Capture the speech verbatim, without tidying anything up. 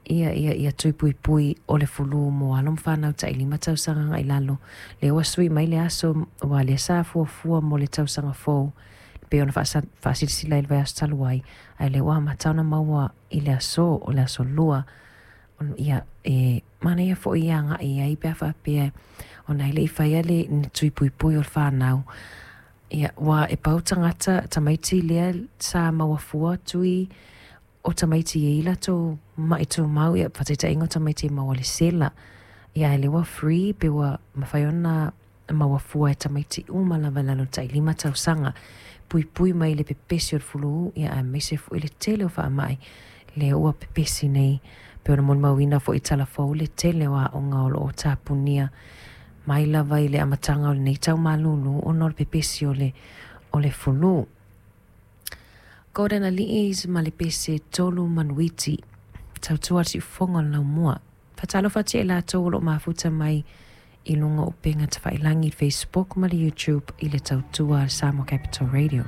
Ia ia ia tui puipui o le fulu mo alo ma fanau tailima tausaga agai i lalo. Lea ua sui mai le aso ua lea sa fuafua mo le tausaga fou e pei ona faasilasila i le vaiaso talu ai, ae lea ua amata ona maua i le aso o le aso lua. Ia e manaia foi e agai ai pe a faapea ona e le i faia le tui puipui o le fanau. Ia ua e pau tagata tamaiti lea sa maua fua tui o tamaiti e i latou ma'i tumau, ia faataitaiga o tamaiti e maua i le sela. Ia ae lea ua free pe ua mafai ona maua fua e tamaiti uma lava i lalo o le tailima tausaga. Puipui mai le pepesi o le fulu, ia aemaise foi le tele o faamai lea ua pepesi nei. Pei ona molimauina foi i tala fou le tele o aoga o lo o tapunia mai lava i le amataga o lenei tau malulu ona o le pepesi o le, o le fulu. Gordon Ali'i ma le pese Tolu Manuiti, tautua le siufofoga o le laumua. Faatalofa atu ia i latou o lo o mafuta mai i luga o upega tafailagi, Facebook ma le YouTube i le tautua a le Samoa Capital Radio.